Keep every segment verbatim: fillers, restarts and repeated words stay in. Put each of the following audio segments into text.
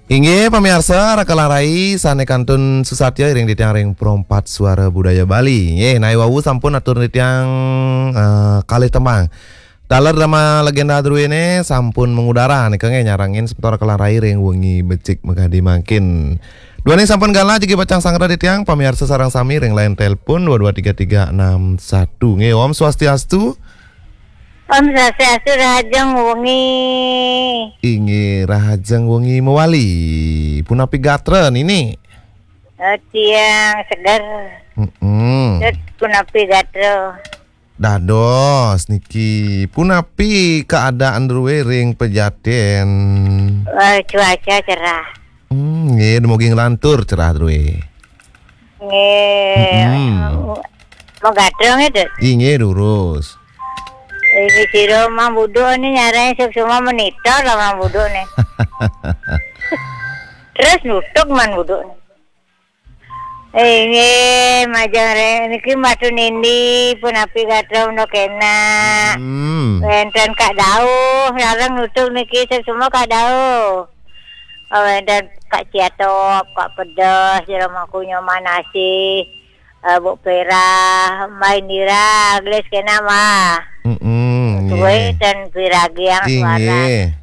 Inggih pamiarsa, raka lan rai sané kantun susatya iring titiang ring Perempat Suara Budaya Bali. Nggih, nawi wau sampun atur titiang, eh, kalih tembang. Taler drama legenda druéné sampun mengudara nika nggih nyarengin semeton raka lan rai ring wengi becik makadi mangkin. Duaning sampun galah jagi pacang sanggra titiang pamiarsa sareng sami ring line telepon dua dua tiga tiga enam satu. Nggih, Om Swastiastu. Om Swastiastu, rahajeng wengi. Inggih, rahajeng wengi mawali. Punapi gatra, Nini? Eh, tiang seger. Mm-mm. Dut, punapi gatra? Dados niki, punapi keadaan drué ring Pejaten? Eh, cuaca cerah. Hmm, nggih, dumugi nglantur cerah drué. Nggih. Mm-mm. Mau gatra nggih, Dut? Inggih, durus. Ini sira Mang Buduk ni nyarani sing semua monitor lah Mang Buduk ni. Terus nutuk Mang Buduk ni. Inggih, majeng ring niki Matu Nindi, punapi gatra, menduk enak. Hmm. Wénten Kak Dauh, sareng nutuk niki sing semua Kak Dauh. Oh, wénten Kak Ciatop, Kak Pedes, Jero Mangku Nyoman Asih, eh, Bu Perah, Mbak Indira, gelis kena mah. Mm-mm, Tuwe nggih. Dan Piragiang suara. Inggih.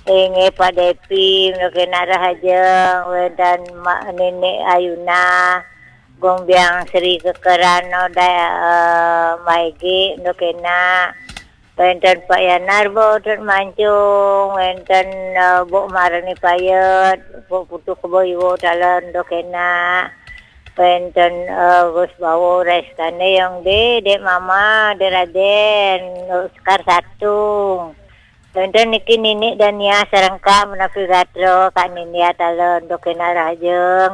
Inggih, Pak Depi, menduk enak rahajeng, wénten Mak Nenek Ayuna, Gong Biang Sri Kekerano, da-, eh, Maigi, menduk enak. Wénten Pak Yanar, Bo Tut Mancung, wénten, eh, Bo Marani Payet, Bo Putu Kebo Iwo Taler, menduk enak. Wénten, eh, Gus Bawo Reskane yang de, Dek Mama, Dek Raden, Sekar Satung. Wénten niki Nini Dania sareng Kak Menapi Gatra, Kak Nindya Taler, menduk enak rahajeng.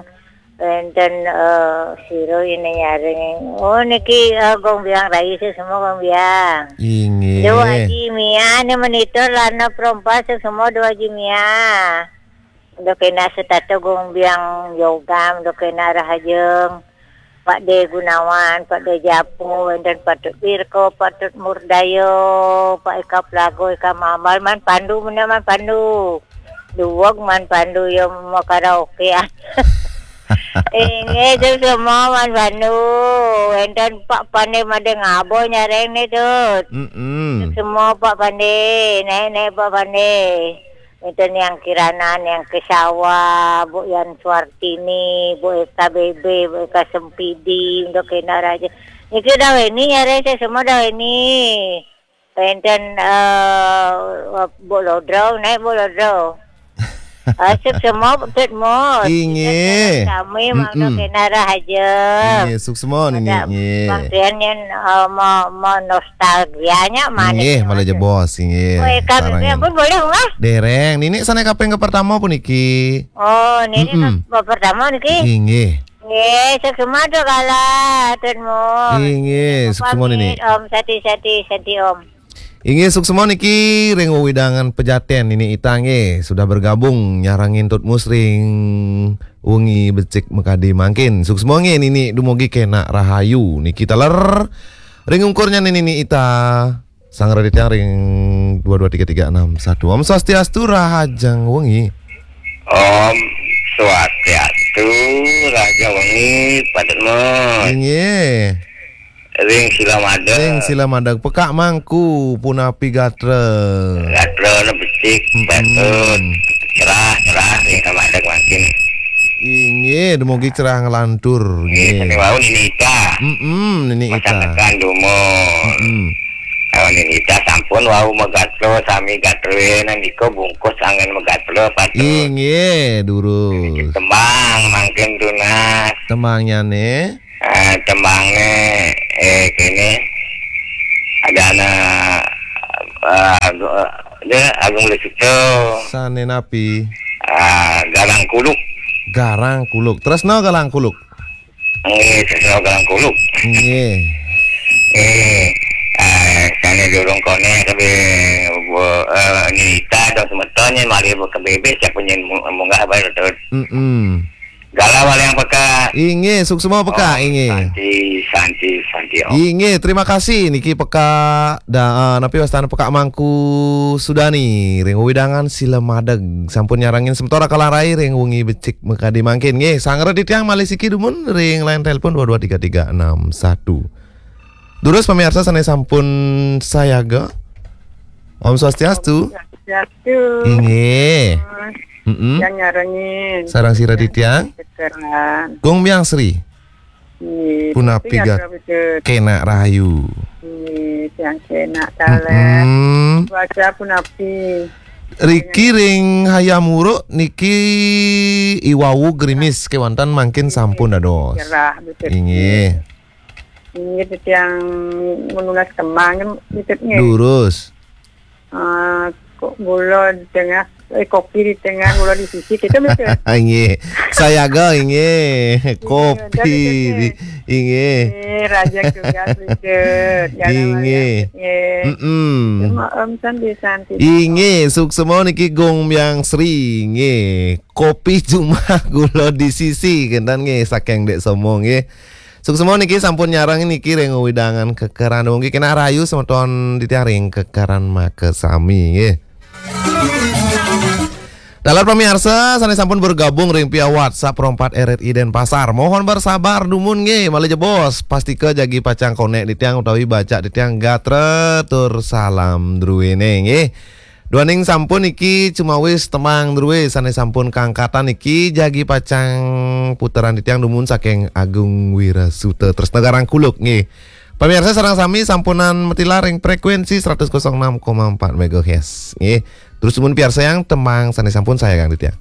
Wénten, eh, sira ini nyaring. Oh, niki, eh, Gong Biang Rai sih semua Gong Biang. Inggih. Dua Haji Mia ni monitor lana perompas sih semua Dua Haji Mia. Menduk enak setata Gong Biang Yoga, menduk enak rahajeng. Pak De Gunawan, Pak De Japu, wénten Patut Birko, Patut Murdayo, Pak Ika Plago, Ika Mambal, Man Pandu, mena Man Pandu. Duweg Man Pandu ya mau karaoke ya. Inggih, sing semua Man Pandu. Wénten Pak Pande Made Ngabo nyareng ni, Dut. Mm-mm. Semua Pak Pande, naik-naik Pak Pande. Itu Niang Kirana, Niang Kesawa, Bu Yan Suartini, Bu Eka Bebe, Bu Eka Sempidi, untuk kena raja. Niki dah ini nyareng sih semua dah ini. Wénten, eh, Bu Lodro, naik Bu Lodro. Asik semua, betul mot. Inggih. Kami mangda kena rahaja. Inggih, suksma Nini, nggih. Bang Tian yang, eh, mau, mau nostalgianya mana? Inggih, malah jebos, inggih. Woi, kami sareng pun boleh, Mas? Dereng, Nini sané kaping pertama puniki. Oh, Nini mm-mm. Pertama niki? Inggih. Nggih, suksma tuh kala, Tut Mot. Inggih, suksma Nini. Pamit, Om, sati-sati, sati, Om. Inggih, suksma niki ring wewidangan Pejaten, Nini Ita nggih, sudah bergabung nyarengin Tut Mus ring wengi becik makadi mangkin. Suksma nggih Nini, dumugi kena rahayu. Niki taler ring ungkurnya Nini Ita. Sanggra titiang ring dua dua tiga tiga enam satu. Om Swastiastu, rahajeng wengi. Om Swastiastu, rahajeng wengi, Pak Tut Mot. Inggih. Ring sila madeg. Ring sila madeg. Pekak Mangku, punapi gatra? Gatrana becik, mm-mm. Patut. Cerah, cerah, ring sila madeg mangkin. Inggih, dumugi cerah nglantur. Inggih, nggih. Sane wau Nini Ita. Mm-mm, Nini Ita. Masakan dumun. Mm-mm. Kalau Nini Ita sampun wau magatra, sami gatrena nika bungkus anggen magatra, patut. Inggih, durus. Tembang mangkin tunas. Tembangnyane? Ah, tembangne, eh, kene, ada anak, eh, Agung, eh, dia Agung Lisuto. Sane napi? Ah, Garang Kuluk. Garang Kuluk. Tresno Garang Kuluk. Nggih, Tresno Garang Kuluk. Nggih. Eh, ah, sane durung konek, tapi, eh, Nita dong semetonnya, mari ke bebek, siapa nyen mu-, munggah, baru terus. Mm-mm. Dalam hal yang peka. Inggih, suksma peka, inggih. Santi, santi, santi. Oh. Inggih, terima kasih niki peka da, uh, napi wastan peka Mangku Sudani ring wewidangan Sila Madeg sampun nyarengin semeton Raka Larai ring wengi becik makadi mangkin nggih. Sangra titiang malih siki dumun ring line telepon dua dua tiga tiga enam satu. Durus pamiarsa sane sampun sayaga. Om Swastiastu. Swastiastu. Inggih. Mm-mm. Yang nyarengin. Sareng sira titiang. Kekeran. Gung Myang Sri. Nggih. Punapi Tapi gat- ada betul. Kena rahayu. Nggih, yang kena taler. Mm-mm. Cuaca punapi. Riki ring Hayam Wuruk niki iwau gerimis kewanten mangkin sampun dados. Cerah betul. Inggih. Inggih titiang menunas kemang betul nggih. Durus. Ah, kok gula di tengah, eh, kopi di tengah, gula di sisi, kita betul. Inggih. Sayaga inggih. Kopi di inggih. Eh, raja juga betul. Inggih. Nggih. Mm-mm. Cuma Om Santi Santi. Inggih, suksma niki Gung Myang Sri nggih. Kopi cuma gula di sisi kenten nggih saking Dek Somo nggih. Suksma niki sampun nyareng niki ring wewidangan Kekeran nggih. Kena rahayu semeton titiang ring Kekeran makasami nggih. Dalar pamiarsa sane sampun bergabung ring pia WhatsApp Pro empat R R I Denpasar. Mohon bersabar dumun nggih, malih jebos. Pastika jagi pacang konek titiang utawi baca titiang gatra tur salam druene nggih. Duaning sampun iki cumawis tembang drue sane sampun kangkatan iki jagi pacang puteran titiang dumun saking Agung Wirasuta Tresna Garang Kuluk nggih. Pamiarsa sareng sami sampunang matilar ring frekuensi seratus kosong enam koma empat megahertz nggih. Terus dumun piarsayang tembang sane sampun sayagang titiang.